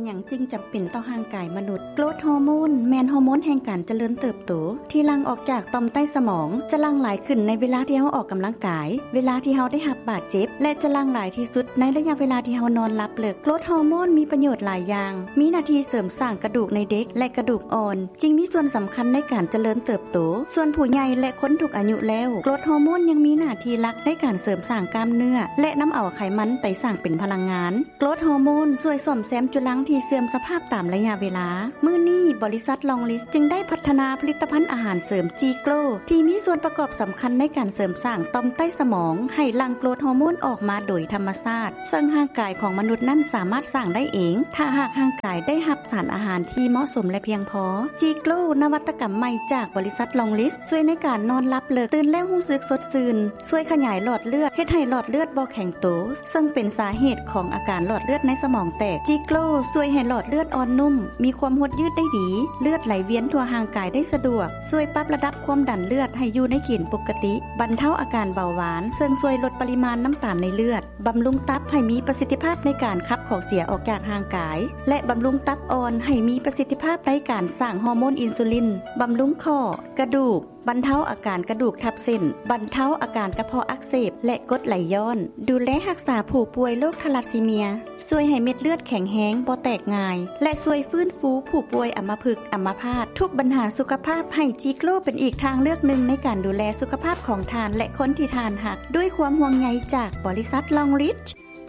ຫຍັງຈຶ່ງຈຳເປັນຕໍ່ຮ່າງກາຍມະນຸດ? ໂກຣດຮໍໂມນ ແມ່ນຮໍໂມນແຫ່ງການຈະເລີນເຕີບໂຕ ທີ່ຫຼັ່ງອອກຈາກຕ່ອມໃຕ້ສະໝອງ, ຈະຫຼັ່ງຫຼາຍຂຶ້ນໃນເວລາທີ່ເຮົາອອກກຳລັງກາຍ, ເວລາທີ່ເຮົາໄດ້ຮັບບາດເຈັບ ແລະ ຈະຫຼັ່ງຫຼາຍທີ່ສຸດໃນໄລຍະເວລາທີ່ເຮົານອນຫຼັບເລິກ. ໂກຣດຮໍໂມນມີປະໂຫຍດຫຼາຍຢ່າງ, ມີໜ້າທີ່ເສີມສ້າງກະດູກໃນເດັກ ແລະ ກະດູກອ່ອນ, ຈຶ່ງມີສ່ວນສຳຄັນໃນການຈະເລີນເຕີບໂຕ. ສ່ວນຜູ້ໃຫຍ່ ແລະ ຄົນທຸກອາຍຸແລ້ວ, ໂກຣດຮໍໂມນຍັງມີໜ້າທີ່ຫຼັກໃນການເສີມສ້າງກ້າມເນື້ອ ແລະ ນຳເອົາໄຂມັນໄປສ້າງເປັນພະລັງງານ. ໂກຣດຮໍໂມນຊ່ວຍສ້ອມແຊມຈຸລັງທີ່ເສື່ອມສະພາບຕາມໄລຍະເວລາ. ມື້ນີ້, ບໍລິສັດລອງລິດ ຈຶ່ງໄດ້ພັດທະນາຜະລິດຕະພັນອາຫານເສີມຈີໂກຣ ທີ່ມີສ່ວນປະກອບສຳຄັນໃນການເສີມສ້າງຕ່ອມໃຕ້ສະໝອງ ໃຫ້ຫຼັ່ງໂກຣດຮໍໂມນອອກມາໂດຍທຳມະຊາດ, ເຊິ່ງຮ່າງກາຍຂອງມະນຸດນັ້ນສາມາດສ້າງໄດ້ເອງ ຖ້າຫາກຮ່າງກາຍໄດ້ຮັບສານອາຫານທີ່ເໝາະສົມ ແລະ ພຽງພໍ. ຈີໂກຣ ນະວັດຕະກຳໃໝ່ຈາກບໍລິສັດລອງລິດ ຊ່ວຍໃນການນອນຫຼັບເລິກ, ຕື່ນແລ້ວຮູ້ສຶກສົດຊື່ນ, ຊ່ວຍຂະຫຍາຍຫຼອດເລືອດ, ເຮັດໃຫ້ຫຼອດເລືອດບໍ່ແຂງໂຕ, ເຊິ່ງເປັນສາເຫດຂອງອາການຫຼອດເລືອດໃນສະໝອງແຕກ. ຈີໂກຣຊ່ວຍໃຫ້ຫຼອດເລືອດອ່ອນນຸ້ມ, ມີຄວາມຫົດຍືດໄດ້ດີ, ເລືອດໄຫຼວຽນທົ່ວຮ່າງກາຍໄດ້ສະດວກ, ຊ່ວຍປັບລະດັບຄວາມດັນເລືອດໃຫ້ຢູ່ໃນເກນປົກກະຕິ, ບັນເທົາອາການເບົາຫວານ, ເຊິ່ງຊ່ວຍລົດປະລິມານນ້ຳຕານໃນເລືອດ, ບຳລຸງຕັບໃຫ້ມີປະສິດທິພາບໃນການຂັບຂອງເສຍອອກຈາກຮ່າງກາຍ ແລະ ບຳລຸງຕັບອ່ອນໃຫ້ມີປະສິດທິພາບໃນການສ້າງຮໍໂມນອິນຊູລິນ, ບຳລຸງຂໍ້, ກະດູກ, ບັນເທົາອາການກະດູກທັບເສັ້ນ, ບັນເທົາອາການກະເພາະອັກເສບ ແລະ ກົດໄຫຼຍ້ອນ, ດູແລຮັກສາຜູ້ປ່ວຍໂລກທາລັດຊີເມຍ, ຊ່ວຍໃຫ້ເມັດເລືອດແຂງແຮງ, ບໍ່ແຕກງ່າຍ ແລະ ຊ່ວຍຟື້ນຟູຜູ້ປ່ວຍອຳມະພຶກ, ອຳມະພາດ. ທຸກບັນຫາສຸຂະພາບ, ໃຫ້ຈີໂກຣເປັນອີກທາງເລືອກໜຶ່ງໃນການດູແລສຸຂະພາບຂອງທ່ານ ແລະ ຄົນທີ່ທ່ານຮັກ, ດ້ວຍຄວາມຫ່ວງໃຍຈາກບໍລິສັດລອງຣິດ.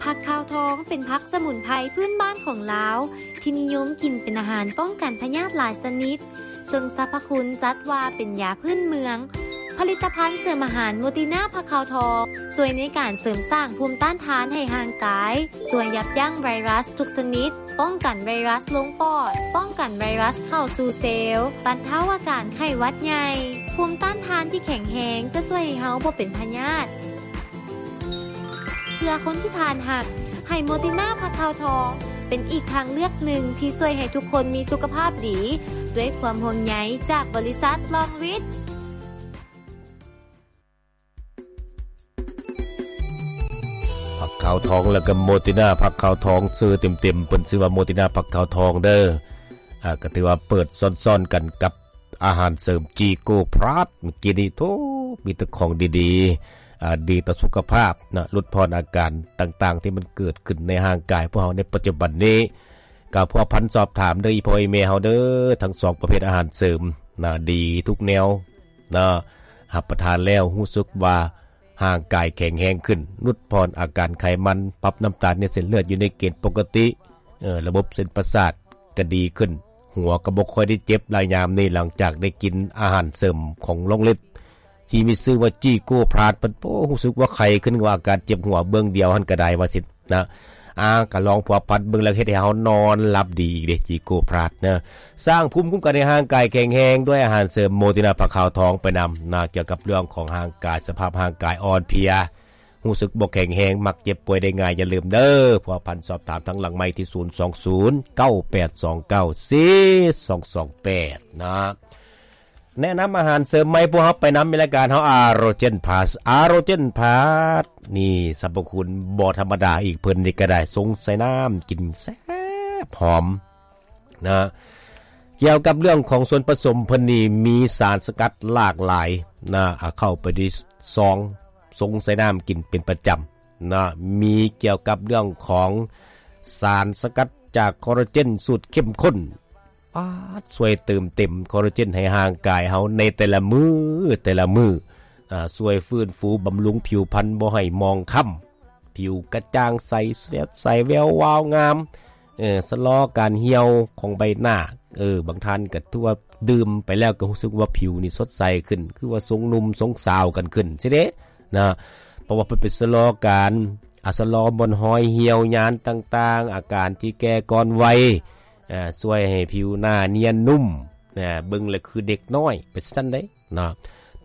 ຜັກຂາວທອງເປັນຜັກສະໝຸນໄພພື້ນບ້ານຂອງລາວ ທີ່ນິຍົມກິນເປັນອາຫານປ້ອງກັນພະຍາດຫຼາຍຊະນິດ, ເຊິ່ງສັບພະຄຸນຈັດວ່າເປັນຢາພື້ນເມືອງ. ຜະລິດຕະພັນເສີມອາຫານໂມຕິນາຜັກຂາວທອງ ຊ່ວຍໃນການເສີມສ້າງພູມຕ້ານທານໃຫ້ຮ່າງກາຍ, ຊ່ວຍຢັບຢັ້ງໄວຣັສທຸກຊະນິດ, ປ້ອງກັນໄວຣັສລົງປອດ, ປ້ອງກັນໄວຣັສເຂົ້າສູ່ເຊວ, ບັນເທົາອາການໄຂ້ຫວັດໃຫຍ່. ພູມຕ້ານທານທີ່ແຂງແຮງຈະຊ່ວຍໃຫ້ເຮົາບໍ່ເປັນພະຍາດ. ເພື່ອຄົນທີ່ທ່ານຮັກ, ໃຫ້ໂມຕິນາຜັກຂາວທອງ ເປັນອີກທາງເລືອກໜຶ່ງທີ່ຊ່ວຍໃຫ້ທຸກຄົນມີສຸຂະພາບດີ, ດ້ວຍຄວາມຫ່ວງໃຍຈາກບໍລິສັດລອງຣິດ. ຜັກຂາວທອງ ແລ້ວກໍໂມຕິນາຜັກຂາວທອງ, ຊື່ເຕັມໆເພິ່ນຊື່ວ່າໂມຕິນາຜັກຂາວທອງເດີ. ອ່າ ກໍຖືວ່າເປີດຊ້ອນໆກັນກັບ ອາຫານເສີມຈີໂກພລັສ ເມື່ອກີ້ນີ້ ໂທ້ ມີແຕ່ຂອງດີໆ ອ່າ ດີຕໍ່ສຸຂະພາບນະ, ຫຼຸດຜ່ອນອາການຕ່າງໆ ທີ່ມັນເກີດຂຶ້ນໃນຮ່າງກາຍພວກເຮົາໃນປັດຈຸບັນນີ້. ກໍພົວພັນສອບຖາມເດີ ອີ່ພໍ່ອີ່ແມ່ເຮົາເດີ, ທັງສອງປະເພດອາຫານເສີມນະ ດີທຸກແນວນະ, ຮັບປະທານແລ້ວຮູ້ສຶກວ່າ ຮ່າງກາຍແຂງແຮງຂຶ້ນ, ຫຼຸດຜ່ອນອາການໄຂມັນ, ປັບນ້ຳຕານໃນເສັ້ນເລືອດຢູ່ໃນເກນປົກກະຕິ, ເອີ ລະບົບເສັ້ນປະສາດກໍດີຂຶ້ນ, ຫົວກໍບໍ່ຄ່ອຍໄດ້ເຈັບຫຼາຍຍາມນີ້ ຫຼັງຈາກໄດ້ກິນອາຫານເສີມຂອງລອງລິດ ທີ່ມີຊື່ວ່າຈີໂກພລັສ. ເພິ່ນ ໂອ້ ຮູ້ສຶກວ່າໄຄຂຶ້ນ, ວ່າອາການເຈັບຫົວເບື້ອງດຽວຫັ້ນກໍໄດ້ວ່າຊັ້ນນະ. ອາ ກໍລອງພົວພັນເບິ່ງ ແລ້ວເຮັດໃຫ້ເຮົານອນຫຼັບດີອີກເດ້ ຈີໂກພລັສນະ. ສ້າງພູມຄຸ້ມກັນໃຫ້ຮ່າງກາຍແຂງແຮງດ້ວຍອາຫານເສີມໂມຕິນາຜັກຂາວທອງໄປນຳນະ, ກ່ຽວກັບເລື່ອງຂອງຮ່າງກາຍ, ສະພາບຮ່າງກາຍອ່ອນເພຍ, ຮູ້ສຶກບໍ່ແຂງແຮງ, ມັກເຈັບປ່ວຍໄດ້ງ່າຍ. ຢ່າລືມເດີ, ພົວພັນສອບຖາມທາງຫຼັງໄມທີ່ ສູນສອງສູນ ເກົ້າແປດສອງເກົ້າ ສີ່ສອງສອງແປດ ນະ. ແນະນຳອາຫານເສີມໃໝ່ພວກເຮົາໄປນຳ ມີລາຍການເຮົາ ອາໂຣເຈນພລັສ. ອາໂຣເຈນພລັສນີ້ ສັບພະຄຸນບໍ່ທຳມະດາອີກ, ເພິ່ນນີ້ກໍໄດ້ຊົງໃສ່ນ້ຳກິນແຊບຫອມນະ. ກ່ຽວກັບເລື່ອງຂອງສ່ວນປະສົມ ເພິ່ນນີ້ມີສານສະກັດຫຼາກຫຼາຍນະ, ເອົາເຂົ້າໄປໃນຊອງ ຊົງໃສ່ນ້ຳກິນເປັນປະຈຳນະ. ມີກ່ຽວກັບເລື່ອງຂອງສານສະກັດຈາກຄໍລາເຈນສູດເຂັ້ມຂຸ້ນ ປາດ ຊ່ວຍເຕີມເຕັມຄໍລາເຈນໃຫ້ຮ່າງກາຍເຮົາໃນແຕ່ລະມື້ ແຕ່ລະມື້, ອາ ຊ່ວຍຟື້ນຟູບຳລຸງຜິວພັນບໍ່ໃຫ້ໝອງຄ້ຳ, ຜິວກະຈ່າງໃສ ສະແວວວາວງາມ, ເອີ ຊະລໍການຫ່ຽວຂອງໃບໜ້າ. ເອີ ບາງທ່ານກໍຖືວ່າດື່ມໄປແລ້ວກໍຮູ້ສຶກວ່າຜິວນີ້ສົດໃສຂຶ້ນ, ຄືວ່າຊົງໜຸ່ມຊົງສາວກັນຂຶ້ນຊີ້ເດ້ນະ, ເພາະວ່າເພິ່ນໄປຊະລໍການ ອາ ຊະລໍບ່ອນຮອຍຫ່ຽວຍານຕ່າງໆ, ອາການທີ່ແກ່ກ່ອນໄວ, ອາ ຊ່ວຍໃຫ້ຜິວໜ້ານຽນນຸ້ມ, ອາ ເບິ່ງແລ້ວຄືເດັກນ້ອຍ ເປັນຊັ້ນໃດ໋ເນາະ.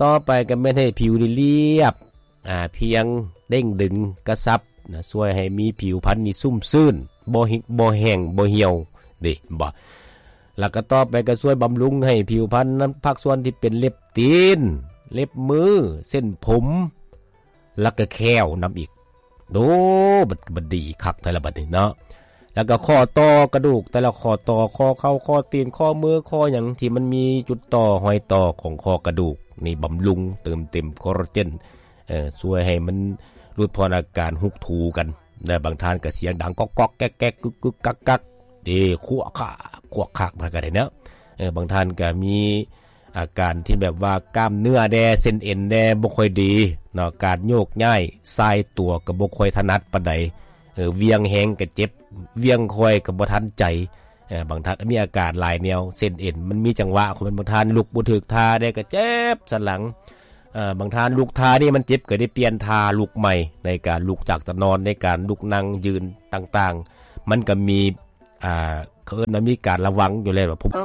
ຕໍ່ໄປກໍແມ່ນໃຫ້ຜິວນີ້ລຽບ, ອາ ພຽງເດັ້ງດຶງກະຊັບນະ, ຊ່ວຍໃຫ້ມີຜິວພັນນີ້ຊຸ່ມຊື່ນ, ບໍ່ຫິກ ບໍ່ແຫ້ງ ບໍ່ຫ່ຽວເດ້ ເຫັນບໍ່? ແລ້ວກໍຕໍ່ໄປກໍຊ່ວຍບຳລຸງໃຫ້ຜິວພັນນຳພາກສ່ວນທີ່ເປັນເລັບຕີນ, ເລັບມື, ເສັ້ນຜົມ ແລ້ວກໍແຂ້ວນຳອີກ. ໂອ້ ມັນ ມັນດີຄັກແທ້ລະບັດນີ້ເນາະ. ແລ້ວກໍຂໍ້ຕໍ່ກະດູກ ແຕ່ລະຂໍ້ຕໍ່ ຂໍ້ເຂົ່າ ຂໍ້ຕີນ ຂໍ້ມື ຂໍ້ຫຍັງທີ່ມັນມີຈຸດຕໍ່ ຮອຍຕໍ່ຂອງຂໍ້ກະດູກ ນີ້ບຳລຸງ ເຕີມເຕັມຄໍລາເຈນ ເອີ ຊ່ວຍໃຫ້ມັນຫຼຸດຜ່ອນອາການຮຸກຖູກັນ. ແລະບາງທ່ານກໍສຽງດັງກອກໆແກກໆ ກຶກໆກັກໆ ເດ້ ຄວກຄາກ ຄວກຄາກ ມັນກໍໄດ້ເນາະ. ເອີ ບາງທ່ານກໍມີອາການທີ່ແບບວ່າກ້າມເນື້ອແດ່ ເສັ້ນເອັນແດ່ ບໍ່ຄ່ອຍດີເນາະ ການໂຍກຍ້າຍສາຍຕົວກໍບໍ່ຄ່ອຍຖະໜັດປານໃດ ເອີ ຫວ່ຽງແຮງກໍເຈັບ ຫວ່ຽງຄ່ອຍກໍບໍ່ທັນໃຈ. ເອີ ບາງທ່ານກໍມີອາການຫຼາຍແນວ ເສັ້ນເອັນມັນມີຈັງຫວະຂອງມັນ ບາງທ່ານລຸກບໍ່ຖືກທ່າແດ່ກໍເຈັບສັນຫຼັງ. ເອີ ບາງທ່ານລຸກທ່ານີ້ມັນເຈັບ ກໍໄດ້ປ່ຽນທ່າລຸກໃໝ່ ໃນການລຸກຈາກຕານອນ ໃນການລຸກນັ່ງຢືນຕ່າງໆ ມັນກໍມີ ອ່າ ເຂົາເອີ້ນວ່າມີການລະວັງຢູ່ແລ້ວ ວ່າ